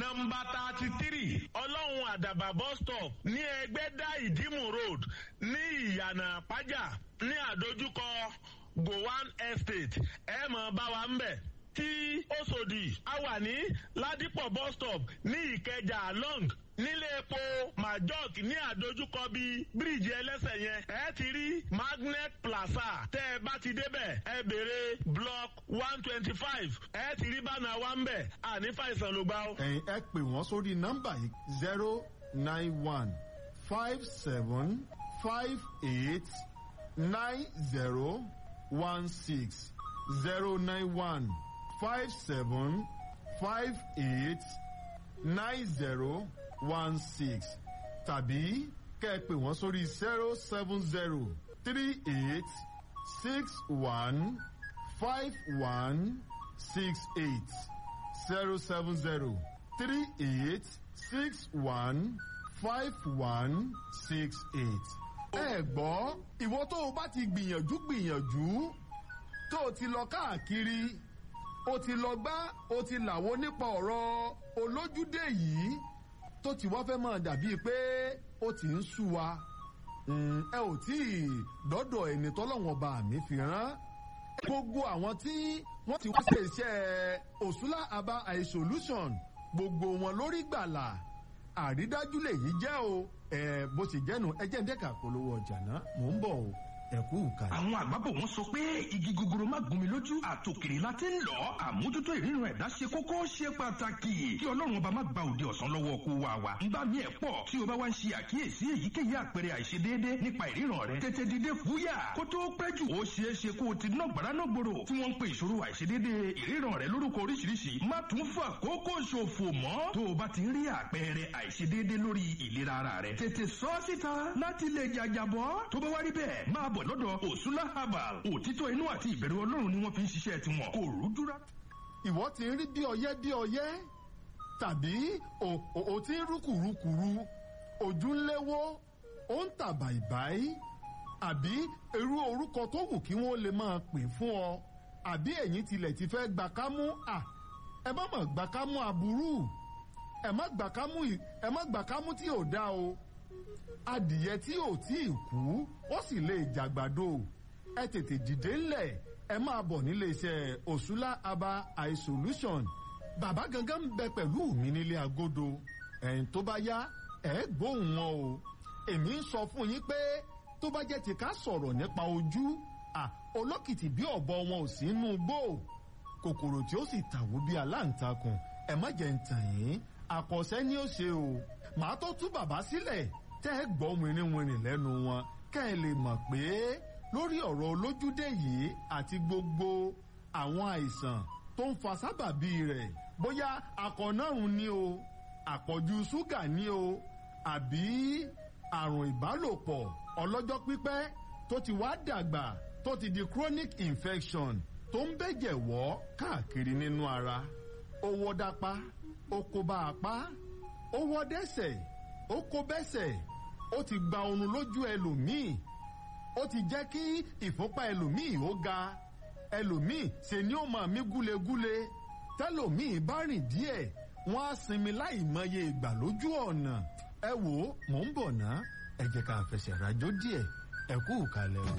Nọ́mbà 33 Ọlọ́run Àdàbà bus stop ní Ẹgbẹ́dá Ìdímù road ní Ìyànà Àpájà ní àdójúkọ Gowan Estate, ẹ mọ̀ bá wa ń bẹ̀. Tí Òṣòdì, a wà ní Ládìpọ̀ bus stop ní Ìkẹjà long nílé epo Majok ní àdójúkọ bíi bíríìjì ẹlẹ́sẹ̀ yẹn, ẹ ti rí Magnet Plaza. Tẹ́ ẹ bá ti débẹ̀, ẹ béèrè block 125, ẹ ti rí bánà wa ń bẹ̀. Àní fàìsàn ló gbá o. Ẹ̀yin ẹ pè wọ́n sórí nọ́mbà yìí: 09157589016, 09157589016, tàbí kẹ́ ẹ pè wọ́n sórí 07038615168, 07038615168. Ẹ gbọ́, ìwọ tó o bá ti gbìyànjú gbìyànjú, tó o ti lọ káàkiri, o ti lọ gbá, o ti làwo nípa ọ̀rọ̀ olójúdé yìí, tó ti wá fẹ́ máa dàbíi pé ó ti ń sú wa, ẹ ò tí ì dọ́dọ̀ ẹni tọ́lọ́wọ́n bá mi fi rán. Gbogbo àwọn tí wọ́n ti wá ṣe iṣẹ́ Òṣùlá Aba Eye Solution, gbogbo wọn lórí gbàlà, àrídájú lèyí jẹ́ o. Ẹ bó ṣe jẹ́nu, ẹ jẹ́ ń dẹ́ka polówó ọjà náà, mò ń bọ̀ o, ẹ kú ìkàlẹ̀. Àwọn àgbàbọ̀ wọn sọ pé igi gogoro má gún mi lójú, àtòkèrè la ti ń lọ. Àmójútó ìríran ẹ̀dá ṣe kókó, ṣe pàtàkì. Kí Ọlọ́run ọba má gba òde ọ̀sán lọ́wọ́ kó wa wa. Ń bá mi ẹ̀ pọ̀ tí o bá wá ń ṣe àkíyèsí èyíkéyìí àpẹẹrẹ àìṣedéédé nípa ìríran rẹ, tètè dìde fúyà kó tó pẹ́ jù. Ó ṣeé ṣe kó o ti ná gbàrà náà gbòòrò tí wọ́n ń pe ìṣòro àìṣedéédé ìríran rẹ lórúkọ oríṣiríṣi. Má tún fà kókó ṣòfò mọ́. Tó o bá ti ń rí àpẹẹrẹ àìṣedéédé lórí ìlera ara rẹ, tètè sọ ọ́ síta láti lè jàjàbọ́. Tó bá wá rí bẹ́ẹ̀, máa bọ̀ lọ́dọ̀ Òṣùlá Herbal. Òtítọ́ inú àti ìbẹ̀rù Ọlọ́run ni wọ́n fi ń ṣiṣẹ́ tiwọn, kò rújú rárá. Ìwọ ti ń rí bí ọyẹ́ bí ọyẹ́, tàbí o ti ń rúkùrúkùrú, ojú ń léwó, ó ń tà bàìbàì, àbí irú orúkọ tó wù kí wọ́n lè máa pè fún ọ, àbí ẹ̀yin tilẹ̀ ti fẹ́ gbà kámú à, ẹ má mọ̀ gbà kámú aburú, ẹ má gbà kámú, ẹ má gbà kámú tí ò dá o. Adìyẹ tí ò tí ì kú, ó sì lè jàgbàdo. Ẹ tètè dìde ńlẹ̀, ẹ máa bọ̀ nílé iṣẹ́ Òṣùlá Aba Eye Solution. Bàbá gangan ń bẹ pẹ̀lú mi nílé agodo. Ẹ̀yìn tó bá yá, ẹ gbóhùn wọn o. Èmi ń sọ fún yín pé tó bá jẹ́ ti ká sọ̀rọ̀ nípa ojú à, olókìtì bí ọ̀bọ wọn ò sí inú gbó, kòkòrò tí ó sì tàwó bí aláǹtakùn. Ẹ má jẹ́ ń tàn yín, àkọsẹ́ ni ó ṣe o. Màá tó tú bàbá sílẹ̀ tẹ́ ẹ gbọ́ wìnrìnwìnrìn lẹ́nu wọn, kẹ́ ẹ lè mọ̀ pé lórí ọ̀rọ̀ olójúdé yìí àti gbogbo àwọn àìsàn tó ń fa sábàbí rẹ̀, bóyá akọ̀nàrùn ni o, àpọ̀jù ṣúgà ni o, àbí àrùn ìbálòpọ̀ ọlọ́jọ́ pípẹ́ tó ti wá dàgbà, tó ti di chronic infection tó ń bẹ̀jẹ̀ wọ́ káàkiri nínú ara, ó wọ́ dápá, ó kó bá apá, ó wọ́ dẹ́sẹ̀, ó kó bẹ́sẹ̀, ó ti gba oorun lójú ẹlòmíì, ó ti jẹ́ kí ìfúnpá ẹlòmíì ó ga, ẹlòmíì ṣe ni ó máa mí gúlegúle, tẹlòmíì bá rìn díẹ̀, wọ́n á sinmi láì mọye ìgbà lójú ọ̀nà. Ẹ wò ó, mò ń bọ̀ ná, ẹ jẹ́ ká fẹsẹ̀ rajó díẹ̀. Ẹ kú ìkàlẹ̀ o.